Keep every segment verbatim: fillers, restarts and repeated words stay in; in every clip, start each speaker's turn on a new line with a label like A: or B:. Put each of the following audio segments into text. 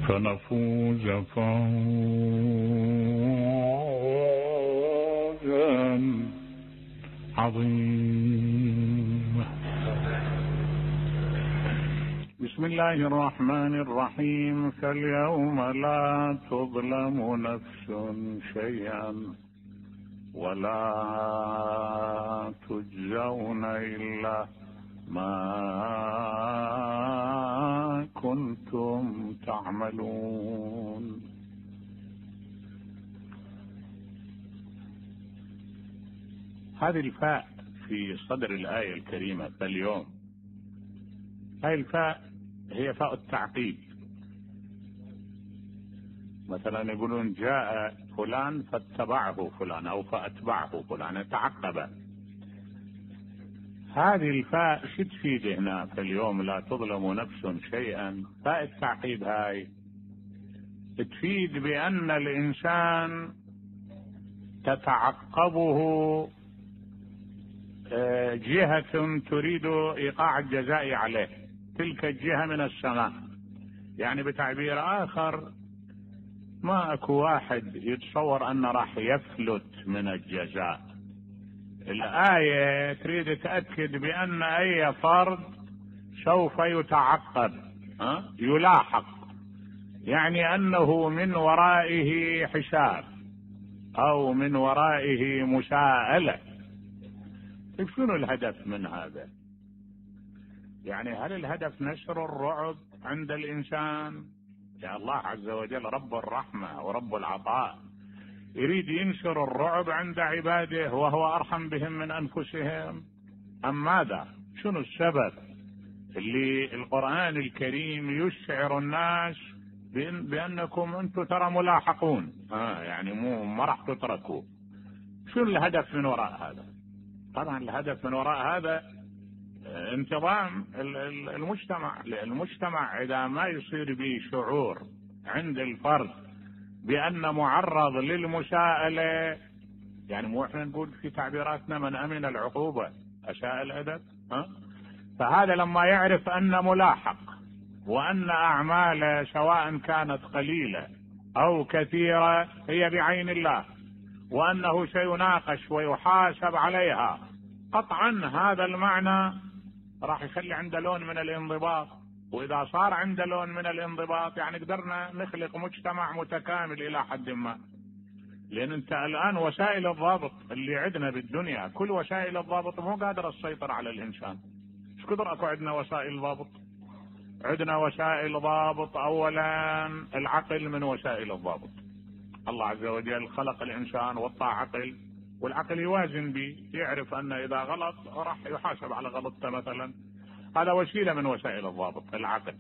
A: فنفوز فوزا عظيما. بسم الله الرحمن الرحيم. فاليوم لا تظلم نفس شيئا ولا تجزون إلا ما كنتم تعملون. هذه الفاء في صدر الآية الكريمة فاليوم، هذه الفاء هي فاء التعقيب. مثلا يقولون جاء فلان فاتبعه فلان أو فأتبعه فلان، يتعقب. هذه الفاء شو تفيد هنا؟ فاليوم لا تظلم نفس شيئا. فاء التعقيب هاي تفيد بأن الإنسان تتعقبه جهة تريد إيقاع الجزاء عليه، تلك الجهة من السماء. يعني بتعبير آخر، ما اكو واحد يتصور أنه راح يفلت من الجزاء. الآية تريد تأكد بأن أي فرد سوف يتعقب، ها؟ يلاحق، يعني أنه من ورائه حساب أو من ورائه مساءلة. طيب شنو الهدف من هذا؟ يعني هل الهدف نشر الرعب عند الإنسان؟ يا الله عز وجل رب الرحمة ورب العطاء يريد ينشر الرعب عند عباده وهو أرحم بهم من أنفسهم، أم ماذا؟ شنو السبب اللي القرآن الكريم يشعر الناس بأن بأنكم أنتم ترى ملاحقون، آه يعني مو ما راح تتركوا؟ شنو الهدف من وراء هذا؟ طبعا الهدف من وراء هذا انتظام المجتمع. المجتمع إذا ما يصير به شعور عند الفرد بأن معرض للمساءلة، يعني مو احنا نقول في تعبيراتنا من أمن العقوبة أساء الأدب، ها؟ فهذا لما يعرف أن ملاحق وأن أعماله سواء كانت قليلة أو كثيرة هي بعين الله، وأنه سيناقش ويحاسب عليها، قطعا هذا المعنى راح يخلي عنده لون من الانضباط. وإذا صار عنده لون من الانضباط يعني قدرنا نخلق مجتمع متكامل إلى حد ما. لأن أنت الآن وسائل الضابط اللي عندنا بالدنيا، كل وسائل الضابط مو قادرة تسيطر على الإنسان. ايش قدر أكو عندنا وسائل ضابط؟ عندنا وسائل ضابط أولا العقل من وسائل الضابط. الله عز وجل خلق الإنسان وضع عقل، والعقل يوازن به، يعرف أن إذا غلط راح يحاسب على غلطته مثلا. هذا وسيلة من وسائل الضابط العقل.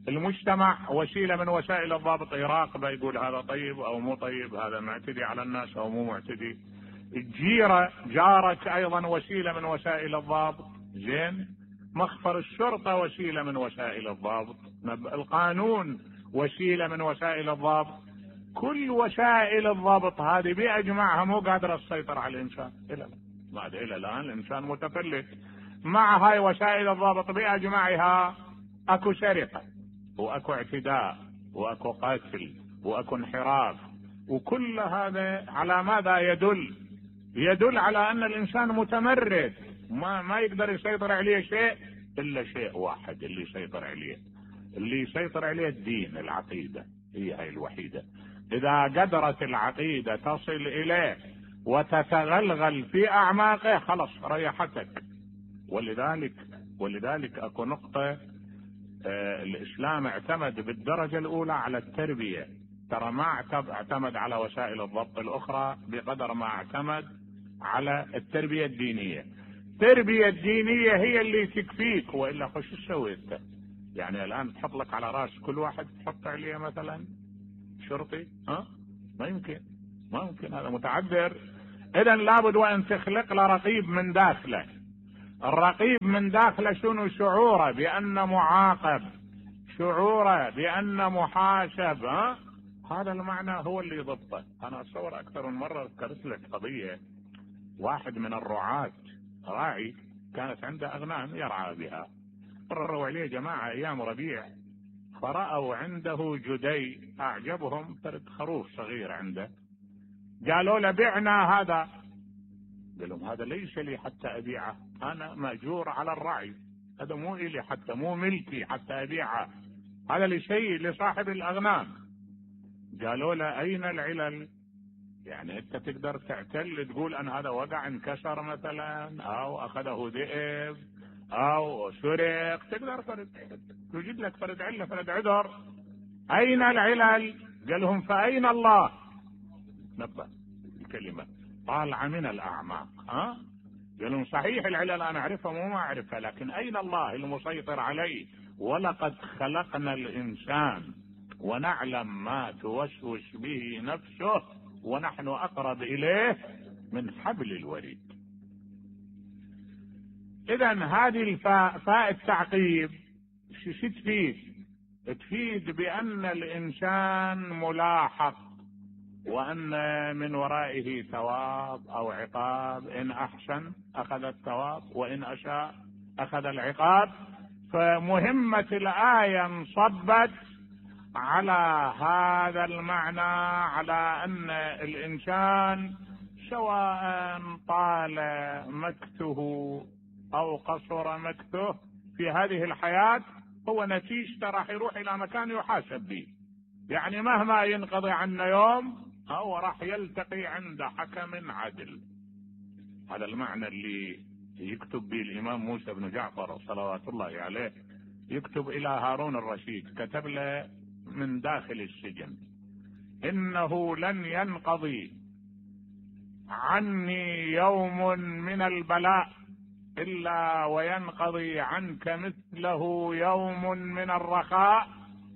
A: المجتمع وسيلة من وسائل الضابط، يراقبه يقول هذا طيب أو مو طيب، هذا معتدي على الناس أو مو معتدي. الجيرة جارك أيضا وسيلة من وسائل الضابط. زين، مخفر الشرطة وسيلة من وسائل الضابط. القانون وسيلة من وسائل الضابط. كل وسائل الضابط هذه بأجمعها مو قادرة تسيطر على الإنسان إلى ما إلى الآن. الإنسان متفلت. مع هاي وسائل الضابط بأجمعها أكو سرقة وأكو اعتداء وأكو قتل وأكو انحراف، وكل هذا على ماذا يدل؟ يدل على أن الإنسان متمرد، ما ما يقدر يسيطر عليه شيء إلا شيء واحد اللي يسيطر عليه، اللي يسيطر عليه الدين، العقيدة هي هاي الوحيدة. إذا قدرت العقيدة تصل إليه وتتغلغل في أعماقه خلص ريحتك. ولذلك ولذلك أكو نقطة، آه الإسلام اعتمد بالدرجة الأولى على التربية. ترى ما اعتمد على وسائل الضبط الأخرى بقدر ما اعتمد على التربية الدينية. التربية الدينية هي اللي تكفيك، وإلا خش تسوي انت؟ يعني الآن تحط لك على راس كل واحد تحط عليه مثلا شرطي، ها؟ ما يمكن، ما يمكن، هذا متعذر. إذن لابد وأن تخلق له رقيب من داخله. الرقيب من داخله شنو؟ شعوره بأن معاقب، شعوره بأن محاسب، ها؟ هذا المعنى هو اللي يضبطه. أنا أتصور أكثر من مرة ذكرت لك قضية، واحد من الرعاة راعي كانت عنده أغنام يرعى بها، قرروا عليه جماعة أيام ربيع فرأوا عنده جدي أعجبهم، فرد خروف صغير عنده، قالوا له بعنا هذا. قال لهم هذا ليس لي حتى أبيعه، أنا مأجور على الرعي، هذا مو إلي حتى، مو ملكي حتى أبيعه، هذا لشيء لصاحب الأغنام. قالوا له أين العلل؟ يعني أنت تقدر تعتل تقول أن هذا وقع انكسر مثلا، أو أخذه ذئب أو سرق، تقدر فرد توجد لك فرد علة فرد عذر. أين العلل؟ قال لهم فأين الله؟ نبه الكلمة طالعة من الأعماق. ها قال لهم صحيح العلل أنا أعرفها مو ما أعرفها، لكن أين الله المسيطر عليه؟ ولقد خلقنا الإنسان ونعلم ما توسوس به نفسه ونحن أقرب إليه من حبل الوريد. إذن هذه الفاء فاء التعقيب شو تفيد؟ تفيد بأن الإنسان ملاحق، وأن من ورائه ثواب أو عقاب، إن أحسن أخذ الثواب وإن أساء أخذ العقاب. فمهمة الآية انصبت على هذا المعنى، على أن الإنسان سواء طال مكثه أو قصر مكثه في هذه الحياة هو نتيجته راح يروح إلى مكان يحاسب به. يعني مهما ينقضي عنا يوم هو راح يلتقي عند حكم عدل. هذا المعنى اللي يكتب به الإمام موسى بن جعفر صلوات الله عليه، يكتب إلى هارون الرشيد، كتب له من داخل السجن: إنه لن ينقضي عني يوم من البلاء إلا وينقضي عنك مثله يوم من الرخاء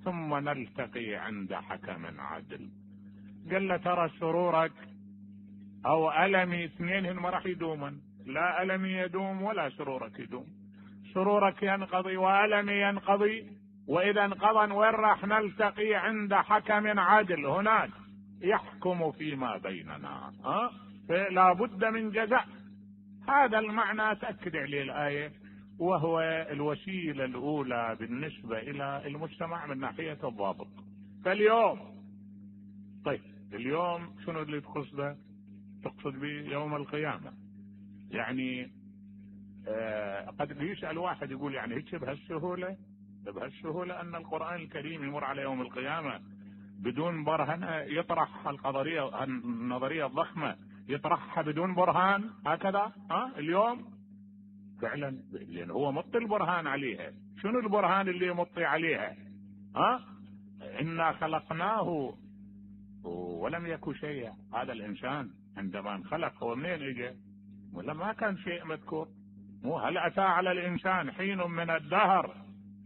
A: ثم نلتقي عند حكم عدل. قال له ترى سرورك أو ألمي اثنين ما راح يدوما، لا ألمي يدوم ولا سرورك يدوم، سرورك ينقضي وألمي ينقضي، وإذا انقضى وين راح نلتقي؟ عند حكم عدل، هناك يحكم فيما بيننا. ها فلا بد من جزاء. هذا المعنى تأكد عليه الآية، وهو الوسيلة الأولى بالنسبة إلى المجتمع من ناحية الضابط. فاليوم طيب اليوم شنو اللي تقصده؟ تقصد به يوم القيامة. يعني آه قد يسأل واحد يقول يعني هيك بهالسهولة بهالسهولة أن القرآن الكريم يمر على يوم القيامة بدون برهنة، يطرح القضية النظرية الضخمة يطرحها بدون برهان هكذا؟ ها اليوم فعلا لأن هو مطي البرهان عليها. شنو البرهان اللي مطي عليها؟ ها إنا خلقناه ولم يكن شيئا. هذا الإنسان عندما انخلق هو منين اجى؟ ولا ما كان شيء مذكور؟ مو هل أتى على الإنسان حين من الدهر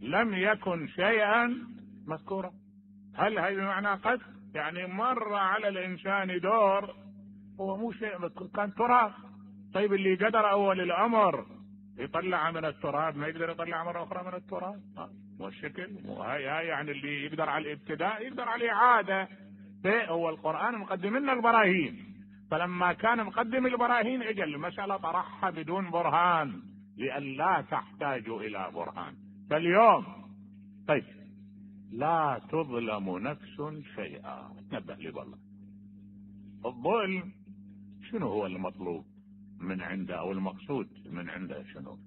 A: لم يكن شيئا مذكورا؟ هل هذا بمعنى قد يعني مر على الإنسان دور هو مو شيء مذكور، كان تراب. طيب اللي قدر أول الأمر يطلع من التراب ما يقدر يطلع مرة أخرى من التراب؟ والشكل هاي هاي يعني اللي يقدر على الابتداء يقدر على الإعادة. هو القرآن مقدم لنا البراهين، فلما كان مقدم البراهين اجل المسألة طرحها بدون برهان لئلا تحتاج إلى برهان. فاليوم طيب لا تظلم نفس شيئا. نبه لي والله الظلم شنو هو المطلوب من عنده أو المقصود من عنده شنو؟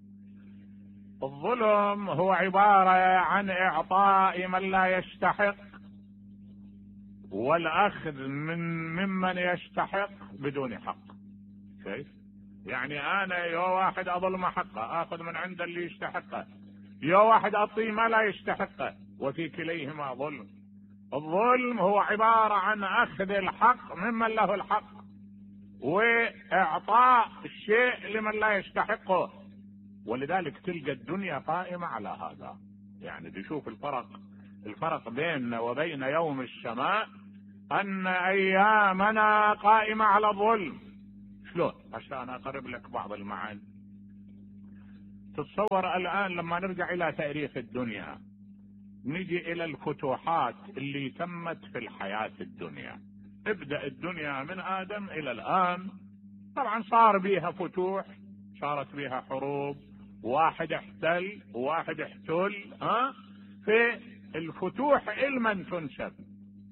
A: الظلم هو عبارة عن إعطاء من لا يستحق والأخذ من ممن يستحق بدون حق. كيف؟ يعني أنا يا واحد أظلم حقه أخذ من عند اللي يستحقه، يا واحد أعطيه ما لا يستحقه، وفي كليهما ظلم. الظلم هو عبارة عن أخذ الحق ممن له الحق وإعطاء الشيء لمن لا يستحقه. ولذلك تلقى الدنيا قائمة على هذا. يعني تشوف الفرق الفرق بيننا وبين يوم السماء أن أيامنا قائمة على الظلم. شلون؟ عشان أقرب لك بعض المعاني. تتصور الآن لما نرجع إلى تاريخ الدنيا نجي إلى الفتوحات اللي تمت في الحياة الدنيا. ابدأ الدنيا من آدم إلى الآن، طبعا صار بيها فتوح، صارت بيها حروب، واحد احتل وواحد احتل. ها في الفتوح علما تنسب،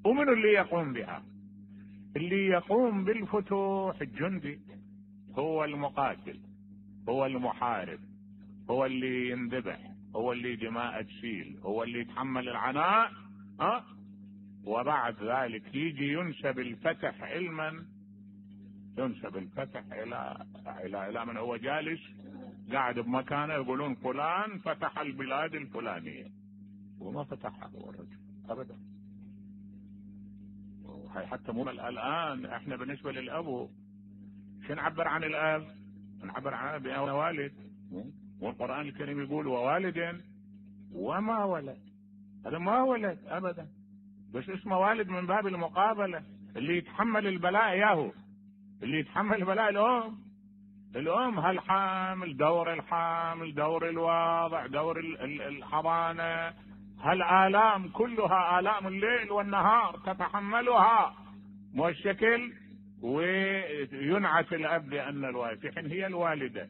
A: ومن اللي يقوم بها؟ اللي يقوم بالفتوح الجندي، هو المقاتل، هو المحارب، هو اللي ينذبح، هو اللي دماء تسيل، هو اللي يتحمل العناء. ها وبعد ذلك يجي ينسب الفتح علما، ينسب الفتح الى الى الى من هو جالس قاعد بمكانه، يقولون فلان فتح البلاد الفلانيه، وما فتحها هو الرجل ابدا. حتى مو الان احنا بالنسبه للاب شو نعبر عن الاب؟ نعبر عن اب والد، والقران الكريم يقول ووالد وما ولد. هذا ما ولد ابدا، بس اسمه والد من باب المقابله. اللي يتحمل البلاء ياهو، اللي يتحمل البلاء الام. الام هالحامل، دور الحامل، دور الواضع، دور الحضانه، هالآلام كلها آلام الليل والنهار تتحملها مو الشكل. وينعت الأب بأن الوالد في حين هي الوالدة.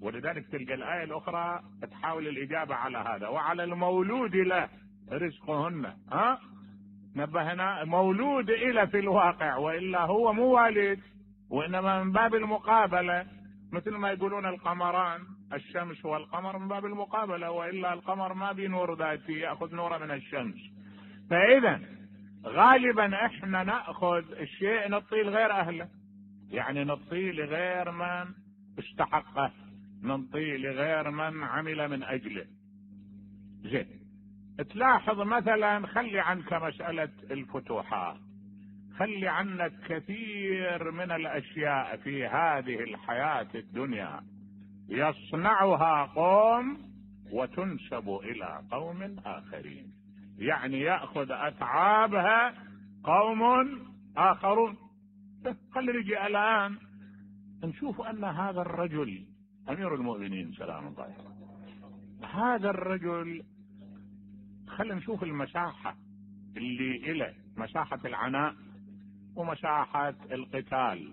A: ولذلك تلقى الآية الأخرى تحاول الإجابة على هذا. وعلى المولود له رزقهن. ها نبهنا مولود إلى في الواقع، وإلا هو مو والد، وإنما من باب المقابلة. مثل ما يقولون القمران، الشمس والقمر من باب المقابلة، وإلا القمر ما بنور ذاتي، يأخذ نوره من الشمس. فإذا غالبا احنا نأخذ الشيء نعطيه لغير أهله، يعني نعطيه لغير من استحقه، نعطيه لغير من عمل من أجله. زين، تلاحظ مثلا، خلي عنك مسألة الفتوحات، خلي عنك كثير من الأشياء في هذه الحياة الدنيا يصنعها قوم وتنسب إلى قوم آخرين، يعني يأخذ أتعابها قوم آخرون. خلي نجي الآن نشوف أن هذا الرجل أمير المؤمنين سلام الله عليه، هذا الرجل خلينا نشوف المساحة اللي إله، مساحة العناء ومساحة القتال.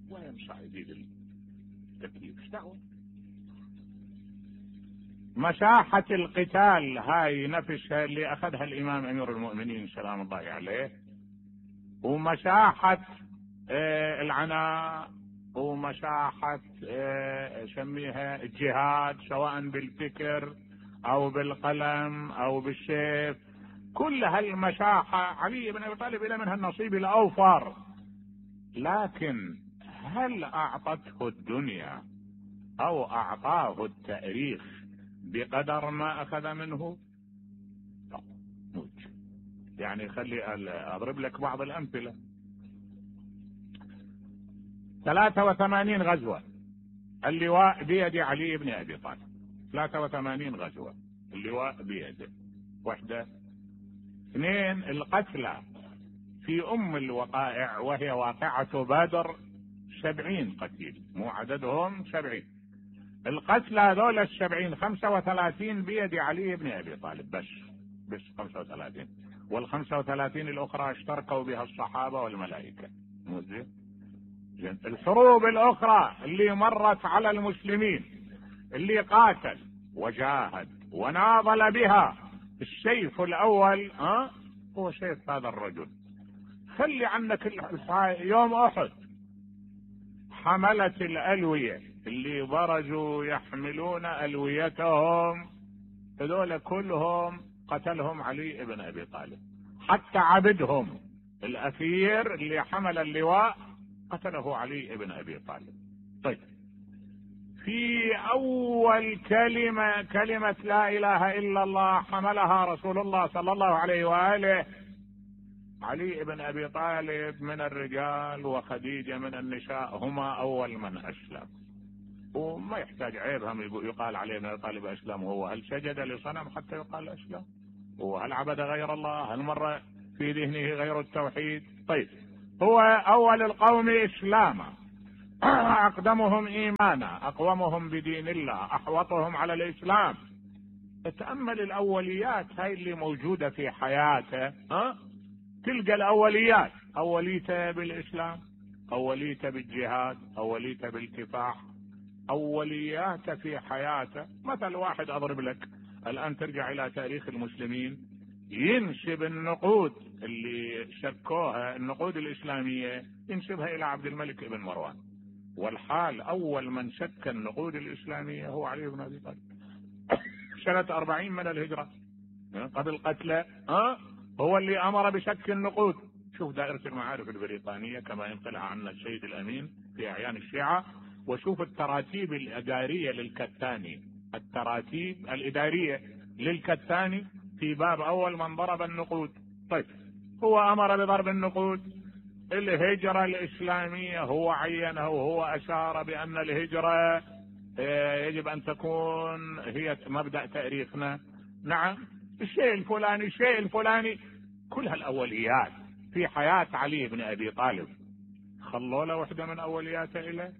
A: وين صعيدي التكليف؟ ايش دعوة؟ مساحة القتال هاي نفسها اللي أخذها الإمام أمير المؤمنين سلام الله عليه، ومساحة آه العناء، ومساحة آه سميها الجهاد، سواء بالفكر أو بالقلم أو بالسيف. كل هالمساحة علي بن أبي طالب إلى منها النصيب الأوفر. لكن هل أعطته الدنيا أو أعطاه التاريخ بقدر ما أخذ منه؟ موت. يعني خلي أضرب لك بعض الأمثلة. ثلاثة وثمانين غزوة اللواء بيد علي بن أبي طالب، ثلاثة وثمانين غزوة اللواء بيده. واحدة. اثنين، القتلى في أم الوقائع وهي واقعة بدر سبعين قتيل، مو عددهم سبعين. القتلى هذول السبعين خمسة وثلاثين بيد علي بن أبي طالب بس، بس خمسة وثلاثين، والخمسة وثلاثين الأخرى اشتركوا بها الصحابة والملائكة. مو زين؟ زين. الحروب الأخرى اللي مرت على المسلمين، اللي قاتل وجاهد وناضل بها، السيف الأول ها هو سيف هذا الرجل. خلي عنك يوم أحد حملة الألوية اللي برزوا يحملون ألويتهم، هذول كلهم قتلهم علي بن أبي طالب. حتى عبدهم الأثير اللي حمل اللواء قتله علي بن أبي طالب. طيب، في أول كلمة كلمة لا إله إلا الله حملها رسول الله صلى الله عليه وآله، علي بن أبي طالب من الرجال وخديجة من النساء هما أول من أسلم. وما يحتاج عيب هم يقال عليه أن طالب أسلم. هو هل سجد لصنم حتى يقال أسلم؟ وهل عبد غير الله؟ هل مر في ذهنه غير التوحيد؟ طيب، هو أول القوم إسلاما، أقدمهم إيمانا، أقومهم بدين الله، أحوطهم على الإسلام. تأمل الأوليات هاي اللي موجودة في حياته. ها؟ تلقى الأوليات، أوليته بالإسلام، أوليته بالجهاد، أوليته بالكفاح، أولياته في حياته. مثل واحد أضرب لك الآن، ترجع إلى تاريخ المسلمين، ينسب النقود اللي شكوها النقود الإسلامية ينسبها إلى عبد الملك بن مروان، والحال أول من شك النقود الإسلامية هو علي بن أبي طالب سنة أربعين من الهجرة قبل قتله. أه؟ هو اللي أمر بشك النقود. شوف دائرة المعارف البريطانية كما ينقلها عنا السيد الأمين في أعيان الشيعة، وشوف التراتيب الإدارية للكتاني، التراتيب الإدارية للكتاني في باب أول من ضرب النقود. طيب هو أمر بضرب النقود. الهجرة الإسلامية هو عينها، وهو أشار بأن الهجرة يجب أن تكون هي مبدأ تاريخنا. نعم، الشيء الفلاني الشيء الفلاني، كل هالأوليات في حياة علي بن أبي طالب خلوا له وحدة من أولياته إلى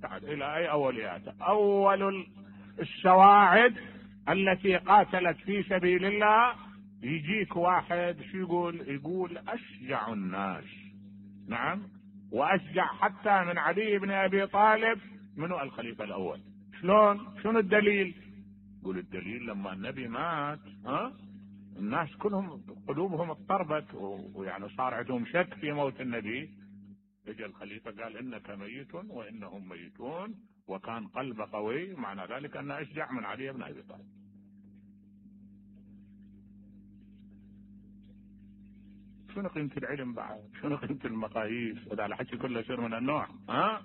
A: بعد إلى أي أولياته؟ أول السواعد التي قاتلت في سبيل الله. يجيك واحد شو يقول؟ يقول أشجع الناس، نعم، وأشجع حتى من علي بن أبي طالب منو الخليفة الأول. شلون؟ شنو الدليل؟ يقول الدليل لما النبي مات ها الناس كلهم قلوبهم اضطربت، ويعني صار عندهم شك في موت النبي. اجى الخليفة قال إنك ميت وإنهم ميتون، وكان قلبه قوي، معنى ذلك أنه أشجع من علي بن أبي طالب. شنو قيمة العلم بعد؟ شنو قيمة المقاييس؟ هذا الحكي كله يصير من النوع ها؟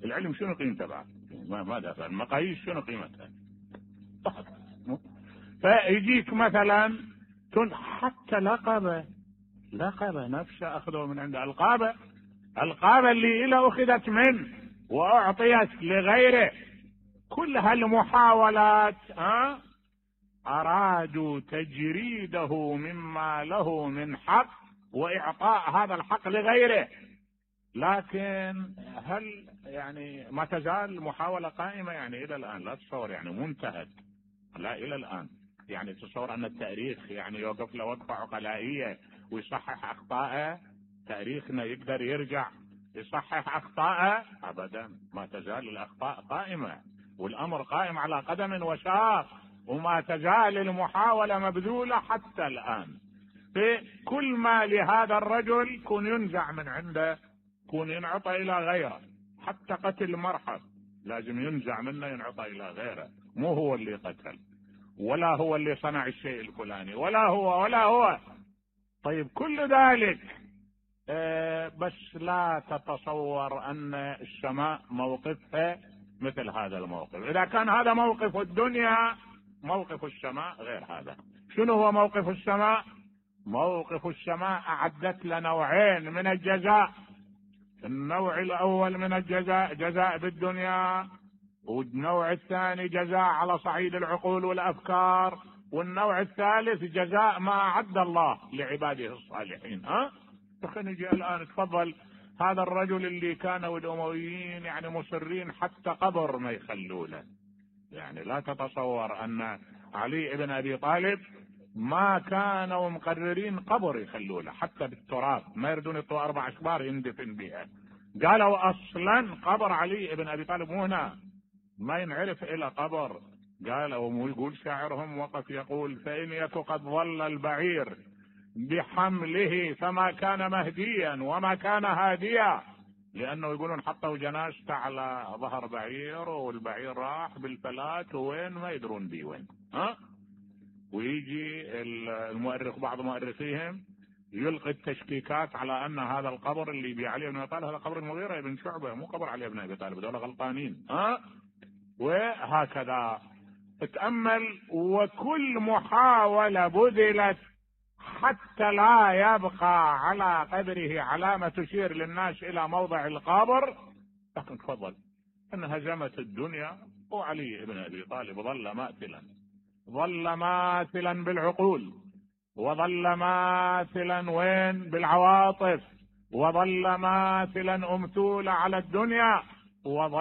A: العلم شنو قيمته بعد؟ ما ماذا المقاييس شنو قيمتها؟ فيجيك مثلا حتى لقبه لقبه نفسه أخذه من عند القابه القابه اللي إله أخذت منه وأعطيت لغيره. كل هالمحاولات ها أرادوا تجريده مما له من حق وإعطاء هذا الحق لغيره. لكن هل يعني ما تزال محاولة قائمة يعني إلى الآن؟ لا تصور يعني منتهت، لا إلى الآن. يعني تصور أن التاريخ يعني يوقف له وقفة عقلائية ويصحح أخطاءه؟ تاريخنا يقدر يرجع يصحح أخطاءه؟ أبدا، ما تزال الأخطاء قائمة، والأمر قائم على قدم وساق، وما تزال المحاولة مبذولة حتى الآن. في كل ما لهذا الرجل كون ينزع من عنده، كون ينعطى إلى غيره. حتى قتل مرحب لازم ينزع منه ينعطى إلى غيره، مو هو اللي قتل، ولا هو اللي صنع الشيء الفلاني، ولا هو ولا هو. طيب كل ذلك آه بس لا تتصور أن السماء موقفها مثل هذا الموقف. إذا كان هذا موقف الدنيا، موقف السماء غير هذا. شنو هو موقف السماء؟ موقف السماء أعدت لنا نوعين من الجزاء. النوع الأول من الجزاء جزاء بالدنيا، والنوع الثاني جزاء على صعيد العقول والأفكار، والنوع الثالث جزاء ما أعد الله لعباده الصالحين. ها خلينا نجي الآن. تفضل، هذا الرجل اللي كانوا الأمويين يعني مصرين حتى قبر ما يخلوا له. يعني لا تتصور أن علي بن أبي طالب ما كانوا مقررين قبر يخلوا له حتى بالتراب، ما يردون يطوا أربع أشبار يندفن بها. قالوا أصلا قبر علي بن أبي طالب مو هنا، ما ينعرف إلى قبر. قالوا يقول شاعرهم وقف يقول: فإن يك قد ظل البعير بحمله فما كان مهديا وما كان هاديا. لأنه يقولون حطوا جنازته على ظهر بعير والبعير راح بالفلات وين ما يدرون بيه وين. ها ويجي المؤرخ بعض مؤرخيهم يلقي التشكيكات على أن هذا القبر اللي بي علي بن أبي طالب هذا قبر المغيرة بن شعبة، مو قبر علي بن أبي طالب، دول غلطانين. ها وهكذا اتأمل. وكل محاولة بذلت حتى لا يبقى على قبره علامة تشير للناس إلى موضع القبر، لكن تفضل أن هزمت الدنيا، وعلي بن أبي طالب ظل ماثلا ظل ماثلا بالعقول، وظل ماثلا وين بالعواطف، وظل ماثلا أمثول على الدنيا، وظل